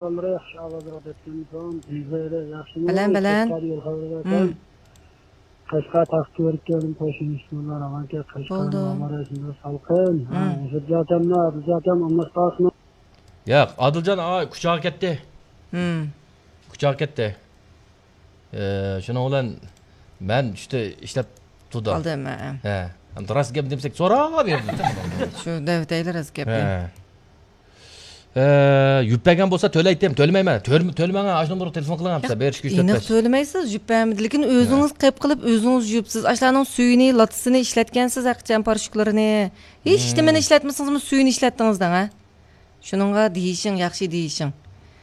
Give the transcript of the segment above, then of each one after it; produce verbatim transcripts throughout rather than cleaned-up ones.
بالىلىرى ياخشى ئاۋازراق دەپتىمىسۇن. بىزلەر ياخشىمۇ؟ بەلەن، بەلەن. قەشقەر يول خەۋىرى بەرسەڭ. مم. قەشقەر تاختى كۆرۈككەن قوشنىشلار ئاۋانكە قەشقەر بولدى. مامارا شۇنداق سالقىن. ھە، مم. ئۇزۇپ جاتەمنا، ئۇزۇپ جاتەم، ئالماس قالسىمۇ؟ ياق، ئادىلجان ئاغا كۇچاغا كەتتى. مم. كۇچاغا كەتتى. ئى، شۇنىڭ بىلەن مەن چۈشتە ئىشلەپ تۇردۇم. قالدىم، ھە. ھە. ئەمدى راست گەپ دېمىسەك، سوراپ يۈردۈم. شۇ دەۋېتەيلى راست گەپنى. ھە. ئى، يۈپ بەرگەن بولسا تۆلەيتتىم، تۆلىمەيمەن. تۆل-، تۆلىمەڭ، ئاشۇ نومۇرغا تېلېفون قىلىڭ، بېرىش كۈچ ئېنىق تۆتمەس. تۆلىمەيسىز، يۈپ بەرمىدى. لېكىن ئۆزىڭىز ھە. قېپ قىلىپ، ئۆزىڭىز يۈپسىز. ئاشۇلارنىڭ سۈيىنى، لاتىسىنى ئىشلەتكەنسىز، ھەقىچان پاراشوكلىرىنى. ھېچ نېمىنى ئىشلەتمىسىڭىزمۇ سۈيىنى ئىشلەتتىڭىز دەڭ، ھە؟ شۇنىڭغا دېيىشىڭ، ياخشى دېيىشىڭ.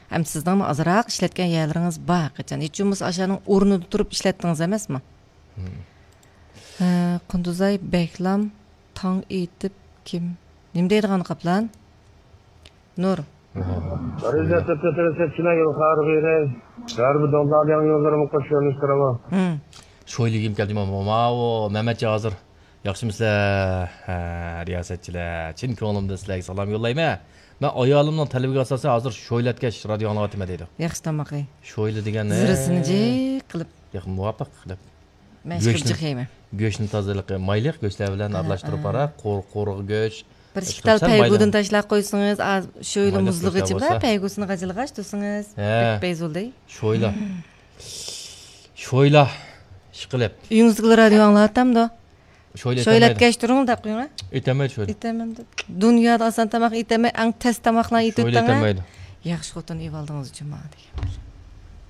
ھەم سىزنىڭمۇ ئازراق ئىشلەتكەن يەرلىرىڭىز بار ھەقىچان. ھېچ بولمىسا ئاشۇنىڭ ئورنىدا تۇرۇپ ئىشلەتتىڭىز ئەمەسمۇ؟ ھە، قۇندۇزاي بەكلام تاڭ ئېيتىپ كىم؟ نېمە دەيدىغان قاپلان؟ نۇر. غەربىي دۆلەتلەر تۆتىلەشكىنە يول خارىغىرى. غەربىي دوللارنىڭ يوللىرىمۇ قوش يۆنىلىشتۈرىمۇ. شويلىگىم كەلدى، ماۋۇ مەمەتجان ھازىر. ياخشىمۇسىلەر؟ ھە، رىياسەتچىلەر، چىن كۆڭلۈمدىن سىلەرگە سالام يوللايمەن. مەن ئايالىمنىڭ تەلىپىگە ئاساسەن ھازىر شويلاتكەش رادىيو ئاڭلاۋاتىمەن دەيدۇ. ياخشى تاماقى. شويلا دېگەن، زىرىسىنى جىق قىلىپ. ياق، مۇۋاپىق دەپ. مەن گۆشنى، جىق يەيمەن. گۆشنى تازىلىقى مايلىق گۆشلەر بىلەن ھە، ئارىلاشتۇرۇپ ھە. قارا، قۇر-، قۇرۇق گۆش. بىر ئىككى تال پەيگۇدىن تاشلاپ قويسىڭىز، ئاز شويلا مۇزلىغىچە بار، پەيگۇسىنى غاجىلىغاچ تۇرسىڭىز. ھە. بەك پەيزۇلدى. شويلا. شويلا. ئىشقىلىپ. ئۆيىڭىزدىكىلەر رادىيو ئاڭلاۋاتامدۇ؟ شويلا شويلا ئەتكەچ تۇرۇڭ دەپ قويۇڭ. ئېتەلمەيدۇ شويلا. ئېتەلمەيدۇ. دۇنيادا ئاسان تاماق ئېتەلمەي، ئەڭ تەس تاماقلارنى ئېتىۋېتىڭ. ئېتەلمەيدۇ. ياخشى خوتۇن ئېۋالدىڭىز جۇما دېگەن.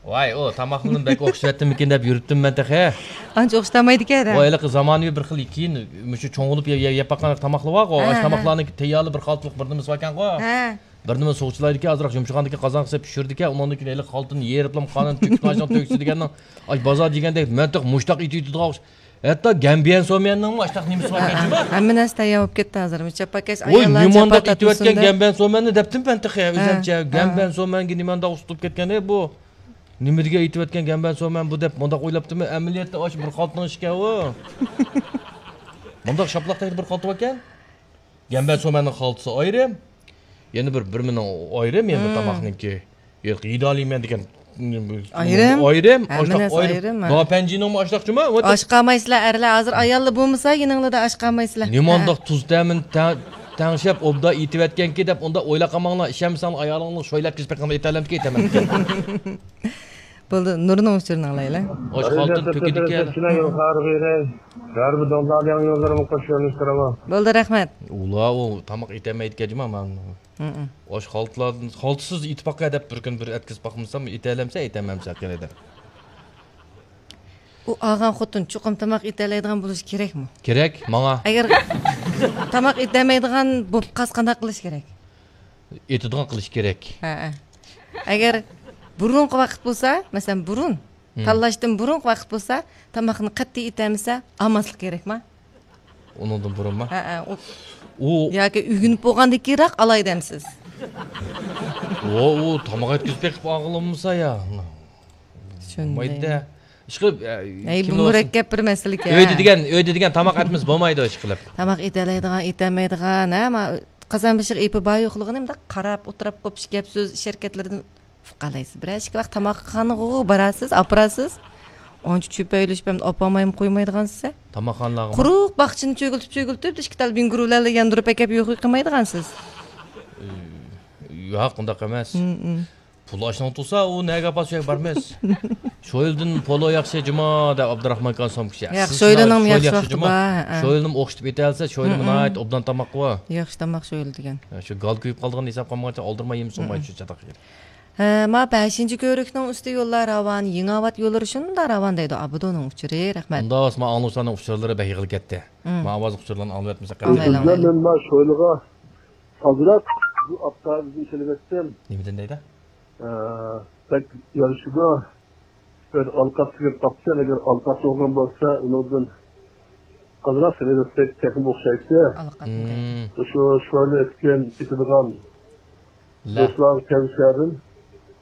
ۋاي، ئۇ تاماقلىرىم بەك ئوخشىۋەتتىممىكىن دەپ يۈرۈپتىم مەن تېخى. ئانچە ئوخشىتالمايدىكەن ھە. ۋاي، ھېلىقى زامانىۋى بىر خىل كېيىن، مۇشۇ چوڭ بولۇپ يە-، يە-، يەپ باققان تاماقلار بارغۇ، ھە، ئاشۇ ھە. تاماقلارنىڭ تەييارلىق بىر خالتىلىق بىر نېمىسى باركەنغۇ. ھە. بىر نېمە سوغۇقچىلايدىكەن، ئازراق يۇمشىغاندىن كېيىن قازانغا سېلىپ پىشۇرىدىكەن، ئۇنىڭدىن كېيىن ھېلىقى خالتىنى يېرىپلا قانىنى تۆكۈپ، ئاشۇنىڭ تۆكۈسى دېگەننىڭ، ئاي، بازار دېگەندەك مەنتىق مۇشتاق ئېتىۋېتىدىغان ئوخشاش. ھەتتا گەنبيەن سوميەننىڭمۇ ئاشۇنداق نېمىسى بار ئىكەن، ھە، جۇما. ھەممە نەرسە تەييار بولۇپ كەتتى ھازىر. چاپاكەش ۋوي، ئاياللار نېمانداق ئېتىۋەتكەن گەنبيەن سوميەننى دەپتىم مەن تېخى، ھە، ئۆزۈمچە. ھە. گەنبيەن سوميەنگە نېمانداق ئۇستىلىپ كەتكەن، ئەي، بۇ. نېمە دېگەن ئېتىۋەتكەن گەنبيەن سوميەن بۇ دەپ مۇنداق ئويلاپتىمەن. ئەمەلىيەتتە ئاشۇ بىر خالتىنىڭ ئىشىكەن ئۇ. مۇنداق شاپىلاق تەكتە بىر خالتا باركەن. گەنبيەن سوميەننىڭ خالتىسى ئايرىم. يەنە بىر، بىر مېنىڭ ئايرىم، يەنە بىر مم. تاماقنىڭكى. ياق، يېدەلەيمەن دېگەن. ئايرىم. ئايرىم. ھەممە ئاشتاق نەرسە ئايرىم. ئايرىم، ھە. داپەنجىنىڭمۇ ئاشتاق جۇما. ئاش قالمايسىلەر، ئەرلەر ھازىر ئاياللا بولمىسا، يېنىڭلىدا ئاش قالمايسىلەر. نېمانداق ھە. تۇز تەمىنى تەڭ-، تەڭشەپ، ئوبدان ئېتىۋەتكەنكى دەپ، ئۇنداق ئويلاپ قالماڭلار. ئىشەنمىسەڭلار، ئايالىڭلار شويلاتكىزىپ بېقىڭلار، ئېتەلەمدىكى ئېتەمەن. بولدى، نۇرنىڭ ئۇچۇرىنى ئاڭلايلى. ئاشۇ خالتىنى تۆكىدىكەن. غەربىي دوللارنىڭ يوللىرىمۇ قوش يۆنىلىشتۈرىمۇ. بولدى، رەھمەت. ئۇلار ئۇ تاماق ئېتەلمەيدىكەن جۇما، مانا. ھە، ھە. ئاشۇ خالتىلار-، خالتىسىز ئېتىپ باققاي دەپ بىر كۈن بىر ئەتكۈزۈپ باقمىسام، ئېتەلەمسە، ئېتەلمەمسە قېنى دەپ. ئۇ ئالغان خوتۇن چوقۇم تاماق ئېتەلەيدىغان بولۇشى كېرەكمۇ؟ كېرەك، ماڭا. ئەگەر تاماق ئېتەلمەيدىغان بولۇپ قالسا قانداق قىلىش كېرەك؟ ئېتىدىغان قىلىش كېرەك. ھە، ھە. ئەگەر بۇرۇنقى ۋاقىت بولسا، مەسىلەن، بۇرۇن، ھىم. تاللاشتىن بۇرۇنقى ۋاقىت بولسا، تاماقنى قەتئىي ئېتەلمىسە، ئالماسلىق كېرەكما؟ ئۇنىڭدىن بۇرۇنما؟ ھە، ھە، ئۇ، ئۇ ياكى ئۆگىنىپ بولغاندىن كېيىنراق ئالاي دەمسىز؟ ئۇ، ئۇ تاماق ئەتكۈزۈپ بېقىپ ئالغىلى بولمىسا يا. چۈشەنمەيدۇ. بولمايدۇ. ئىشقىلىپ، ئەي، بۇ مۇرەككەپ بىر مەسىلە ئىكەن. ئۆيدە دېگەن، ئۆيدە دېگەن تاماق ئەتمىسە بولمايدۇ، ئىشقىلىپ. تاماق ئېتەلەيدىغان، ئېتەلمەيدىغان، ھە، ما-، قازان بېشىغا ئېپى بار يوقلۇقىنى مۇنداق قاراپ ئولتۇرۇپ قوپۇش گەپ سۆز، ئىش ھەرىكەتلىرىدىن ئۇقالايسىز. بىرەر ئىككى ۋاقىت تاماقخانىغا بارارسىز، ئاپىرارسىز. ئانچە چۆپەيلىشىپ ھەم ئاپارمايمۇ قويمايدىغانسىز. تاماقخانىلارغىمۇ؟ قۇرۇق باغچىنى چۆگۈلتۈپ، چۆگۈلتۈپ، ئىككى تال بىڭگۇرۇلەرلا ياندۇرۇپ ئەكەپ يوق قىلمايدىغانسىز. ياق، ئۇنداق ئەمەس. ھىم، ھىم. پۇل ئاشنىڭ تۇرسا، ئۇ نەگە ئاپارسا شۇ يەرگە بارىمىز. شويلىدىن پولو ياخشى جۇما، دەپ ئابدۇراخمان ئاكا سومكىسى. ياق، شويلىنىڭ ياخشى ۋاقتى بار. شويلىنىمۇ ئوخشىتىپ ئېتەلسە، شويلىمۇ ناھايىتى ئوبدان تاماققۇ. ياخشى تاماق شويلا دېگەن. شۇ گال كۆيۈپ قالىدىغان ھېساب قالمىغانچە ئالدىرىماي يېمىسۇن، شۇ چاتاق. ھە، ما بەشىنچى كۆۋرۈكنىڭ ئۈستى يوللار راۋان، يېڭىئاۋات يوللىرى شۇنداق راۋان دەيدۇ. ئابىدۇنىڭ ئۇچۇرى، رەھمەت. ئۇنداق بولسا، ما ئاڭلىغۇچىلارنىڭ ئۇچۇرلىرى بەك يىغىلىپ كەتتى. ما ئاۋاز ئۇچۇرلارنى ئاڭلىۋەتمىسەك. ئاڭلايلى، ئاڭلايلى. مەن ما شويلىغا ئازراق بۇ ئاپتاۋىزنى سېلىۋەتتىم. نېمىدىن دەيدۇ؟ ئە، بەك يارىشىدۇ. بىر ئالقاپ سېلىپ باقسا، ئەگەر ئالقاپ بولغان بولسا، ئۇنىڭدىن ئازراق سېلىۋەتسەك تېخىمۇ ئوخشايتتى. ئالقاپ. مۇشۇ شويلا ئەتكەن ئېتىدىغان دوستلارغا تەۋسىيەدىن،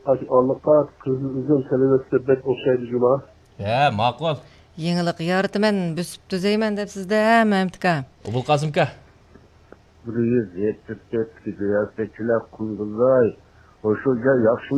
ئاشۇ ئالقاپ، قىزىل ئۈزۈم سېلىۋەتسە بەك ئوخشايدۇ جۇما. ھە، ماقۇل. يېڭىلىق يارىتىمەن، بۆسۈپ تۈزەيمەن دەپسىز-دە، مەمتىكا. ئوبۇلقاسىمكا. بىر يۈز يەتمىش تۆت رىياسەتچىلەر قۇندۇزاي، شۇ گەپ ياخشىمۇ